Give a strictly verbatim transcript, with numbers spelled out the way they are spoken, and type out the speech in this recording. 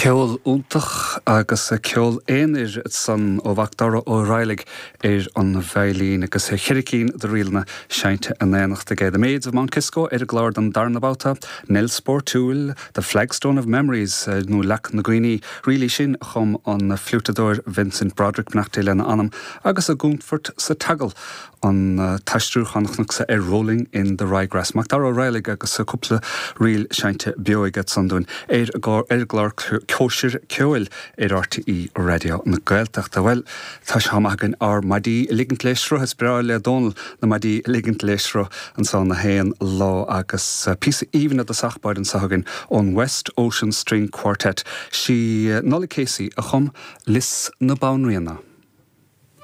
Ceol iontach agus ceol aonair san ó Mhacdara Ó Raghallaigh ar an veidhlín agus ceithre cinn de ríleanna seinnte in éineacht aige. The Maids of Mount Kisco ar an gclár don darna babhta, Nell Sportúil, The Flagstone of Memories nó Leac na gCuimhní, ríl í sin a chum an fliúiteadóir Vincent Broderick beannacht Dé lena anam agus i gContúirt sa tSeagal an t-aistriúchán sa ar Rolling in the Ryegrass. Macdara Ó Raghallaigh agus cúpla ríl seinnte beo aige ansan dúinn ar ar an gclár Cóisir Ceoil ar RTÉ Raidió na Gaeltachta. Well tá sé againn ár maidí ligint le sruth is breá le Dónal na maidí ligint le sruth ansan na haon lá agus píosa aoibhinn i dtosach báire anseo againn ón West Ocean String Quartet. Sí Nollaig Casey a chum Lios na Banríona.